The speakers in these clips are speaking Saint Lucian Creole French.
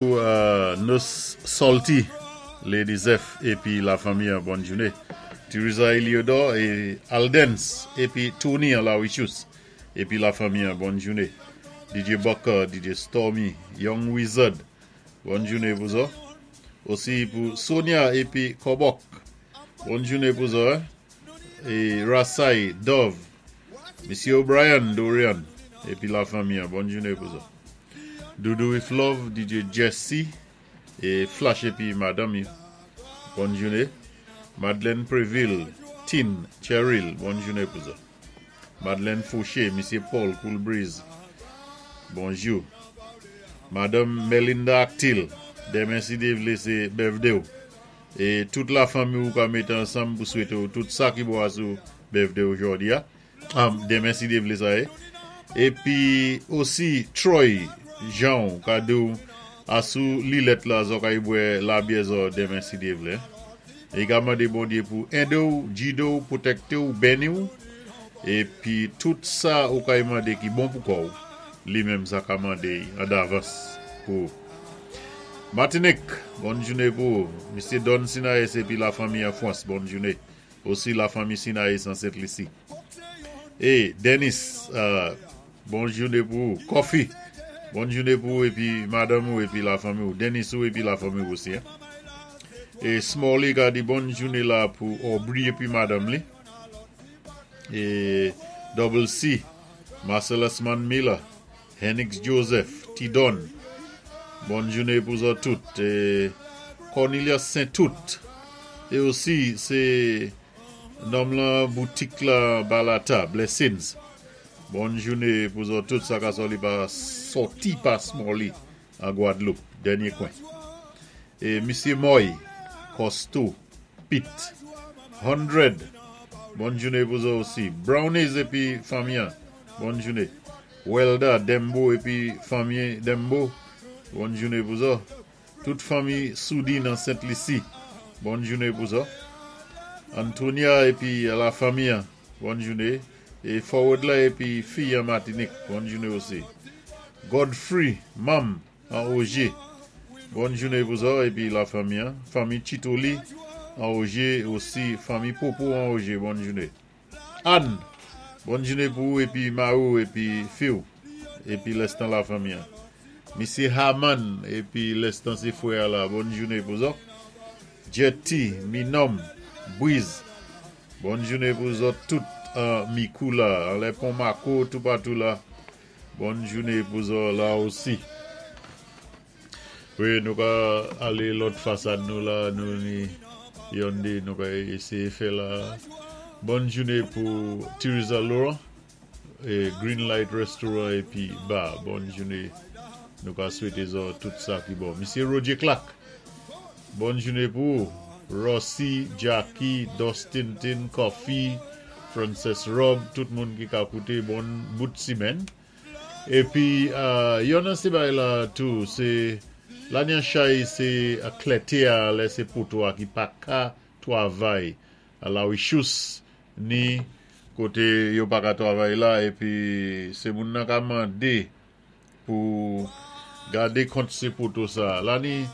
Pou Nos Salty, Lady Zeph épi la fanmi an bòn jouné. Teresa Eliodor é Aldens épi Tony an Lawishus épi la fanmi an bòn jouné. DJ Bucker, DJ Stormy, Young Wizard bòn jouné pou zò. Osi pou Sonia épi Kòbòk bòn jouné pou zò é Rasay, Dove, Misye O'Brien, Dorian épi la fanmi an bòn jouné pou zò. Doudou with love DJ Jessy e Flash epi madanm yo bòn joune Madeleine Previl Tine Cheryl bòn joune pou zò Madeleine Fauché Misye Paul Cool Breeze bonjou Madanm Melinda Actil demen si Dye vle se birthday w e tout la fanmi w ka mete ansanm pou swete w tout sa ki bon asou birthday w jodi a. Demen si Dye vle sa ye. Epi osi Troy janw ka diw asou li lèt la zò ka bwè labyè zò demen si Dye vle. E ka mande Bondye pou edew, gidew, pwotektew, beniw. Epi tout sa ou kay mande ki bon pou kòw li menm sa ka mande an davans pou ou. Matinik, bòn joune pou ou. Misye Don Sinaes epi la fanmi an Fwans, bòn joune. Osi la fanmi Sinaïs an Sent Lisi. E Denis bon joune pou ou. Coffee bon joune pou ou epi madanm ou epi la fanmi ou. Denis ou epi la fanmi ou osi. E Smalley ka di bon joune la pou Aubrey epi madanm li. E Double C Marcellus Man Miller Henix Joseph Ti Don bòn joune pou zòt tout Cornelius Saint-Tout e osi se nonm lan boutik la Balata Blessings bòn joune pou zòt tout sa ka sò li pa sòti pa Smalley an Gwadloup dènye kwen e misye Moy Costo Pit 100 bòn joune pou zòt osi Brownies epi fanmi an bòn joune. Welda Dembo epi fanmi Dembo bòn joune pou zò tout fanmi Soudi nan Sent Lisi bòn joune pou zò Antonia epi la fanmi an bòn joune e Forward la epi fi an Matinik bòn joune osi Godfrey Manm an Oje bòn joune pou zò epi la fanmi an fanmi Chitoli an Oje osi fanmi Popo an Oje bòn joune. Ann! Bòn joune pou ou epi mari w epi fi w epi lèstan lafanmi an. Misye Haman epi lèstan se frè a la bòn joune pou zò. Jetty, Minòm, Briz bòn joune pou zòt tout an Mikou la anlè pon Mako toupatou la bòn joune pou zò la osi. Wi nou ka ale lòt fasad nou la nou ni yonde nou ka eseye fè la bòn joune pou Tirza Laurent e Green Light Restaurant epi Bar bòn joune nou ka swete zò tout sa ki bon misye Roger Clark bòn joune pou ou Rossy Jacky Dustinton Coffee Frances Rob tout moun ki ka koute bon bout simèn. Epi yon nan se bagay la tou se lanyan chay se klète a lè se poto a ki pa ka twavay alawichous ni kote yo pa ka twavay la epi se moun nan ka mande pou gade kont se poto sa la ni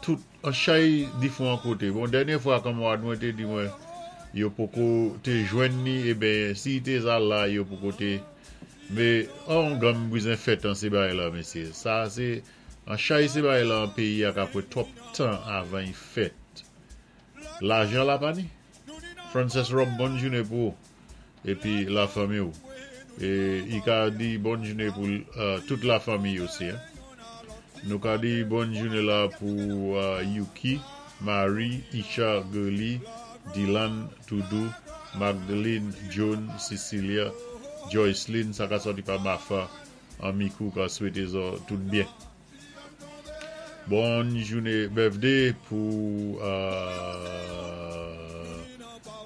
tout an chay difwan kote bon dènye fwa kanmarad mwen te di mwen yo poko te jwenn ni eben si te za la yo poko te Me an ganm bouzen fèt an se bagay la mesye sa se an chay se bagay la an peyi a ka pran twòp tan avan y fèt lajan la pa ni Frances Rob bòn joune pou ou epi la fanmi ou e y ka di bòn joune pou tout la fanmi osi nou ka di bòn joune la pou Yuki Marie Isha Girly Dylan Doudou, Magdeline, Joan, Cecilia, Joyceline sa ka sòti pa Mafa an Mikou ka swete zò tout byen. Bòn joune birthday pou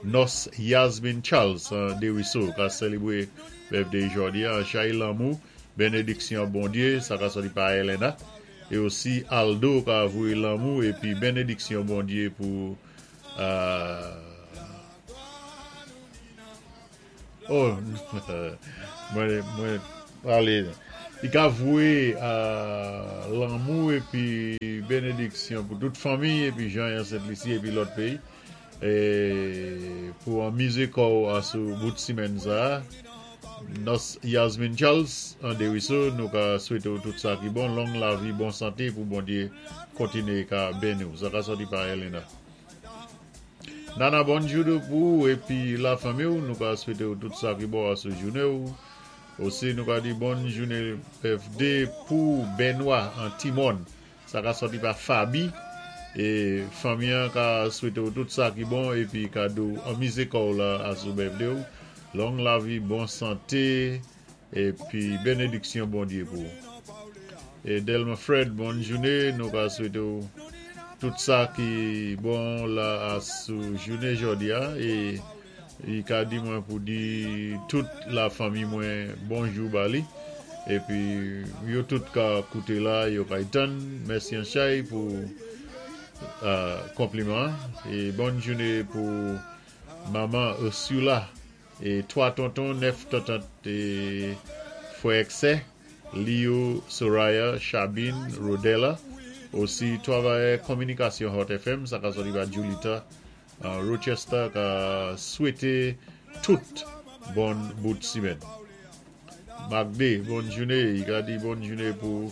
Nòs Yasmine Charles an Deriso ka selebre birthday jodi a chay lanmou benediksyon Bondye sa ka sòti pa Elena e osi Aldo ka voye lanmou epi benediksyon Bondye pou Oh mwen mwen pale. I ka voyé lanmou épi bénédiksyon pou tout fanmi épi Jean an Sent Lisi épi lòt péyi pou anmizé kò'w asou bout simenn sa. Nòs Yasmine Charles an Deriso, nou ka swete'w tout sa ki bon, long lavi, bon santé pou Bondyé kontiné ka beni'w. Sa ka sòti pa Elena. Nana bonjou pou ou épi la fanmi'w, nou ka swete'w tout sa ki bon asou jouné'w. Osi nou ka di bòn jouné birthday pou Benoît an Timòn. Sa ka sòti pa Faby e fanmi an ka swete'w tout sa ki bon épi ka di'w anmize kò'w la asou birthday ou. Long lavi, bon santé épi benediksyon Bondye pou ou. E Delma Fred bòn jouné, nou ka swete'w tout sa ki bon la asou jouné jòdi a e Li ka di mwen pou di tout la fanmi mwen bonjou ba li. Epi yo tout ka kouté la, yo kay tann. Mèsi an chay pou konpliman an. E bòn jouné pou manman Ursula e 3 tonton, 9 tantant e frè ak sè li yo Soraya, Chabine, Rodella. Osi travayè kominikasyon Hot FM, sa ka sòti pa Julita Rochester ka swete tout bon bout simèn. Magde, bòn joune. I ka di bòn joune pou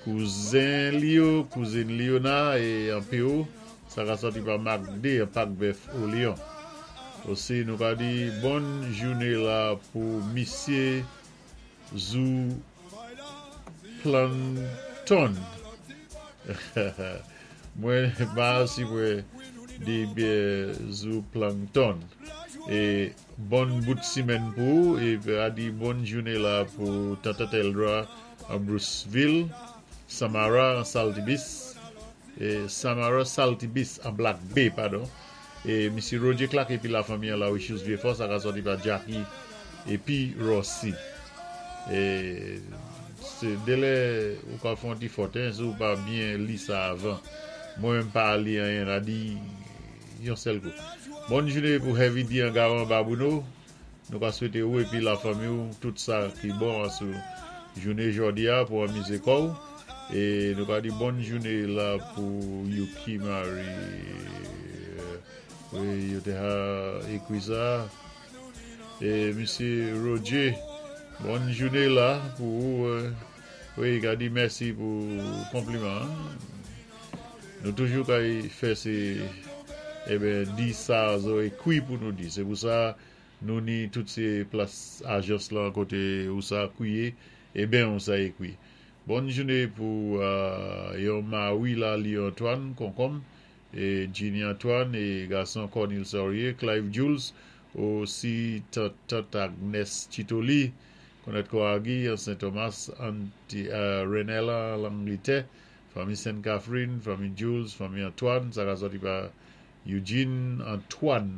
kouzen li yo, kouzin Liona e an Pewou. Sa ka sòti pa Magde an Pak Bèf o Lyon. Osi nou ka di bòn joune la pou misye Zou Planton. Mwen pa si mwen di byen Zou Plankton. E bon bout simèn pou ou e a di bòn joune la pou Tante Teldra an Bruceville, Samara an Saltibis, e Samara Saltibis an Black Bay, padon. E misye Roger Clark epi la fanmi an la Richus Vieux-Fort, sa ka sòti pa Jacky epi Rossy. E se delè ou ka fè yon ti fòt hein si ou pa byen li sa avan. Mwen menm pa li anyen la di yon sèl kou. Bòn joune pou Heavy D an Garan Babouno. Nou ka swete ou epi la fanmi ou tout sa ki bon asou joune jòdi a pou anmize kò ou. E nou ka di bòn joune la pou Yuki Marie. Wi, yo te ha ekri sa. E misye Roger, bòn joune la pou ou. Wi, ka di mèsi pou konpliman an. Nou toujou kay fè se eben di sa zo ekwi pou nou di. Se pou sa nou ni tout se plas ajans lan kote ou sa kwiye eben ou sa ekwi. Bòn joune pou yon Marie la Li Antoine konkonm e Jeannie Antoine e gason Cornil Saurier, Clive Jules osi tant tant Agnes Chitoli Konèt Koagi an Sen Thomas Anti Renella Langlitè Fanmi Sen Catherine, fanmi Jules, fanmi Antoine, sa ka sòti pa Eugene Antoine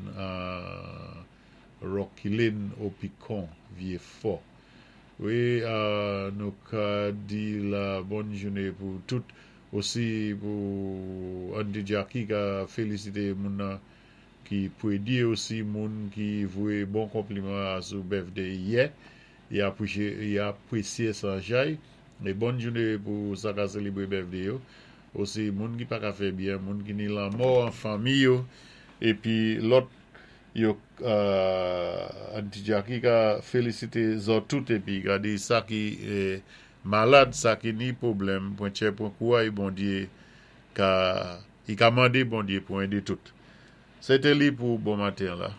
Rocky Lane Opicon Vye Fò. Wi nou ka di la bòn joune pou tout osi pou Andy Jacky ka felisite moun nan ki predi osi moun ki voye bon konpliman a sou birthday yè y apresye sa jay e bòn joune pou sa ka selebre birthday yo osi moun ki paka fè byen moun ki ni lanmò an fanmi yo epi lòt yo Aunty Jacky ka felisite zò tout epi gade sa ki malad sa ki ni pwoblèm pwen tchè pwen kouray Bondye ka i ka mande Bondye pou ede tout se te li pou bon maten an la.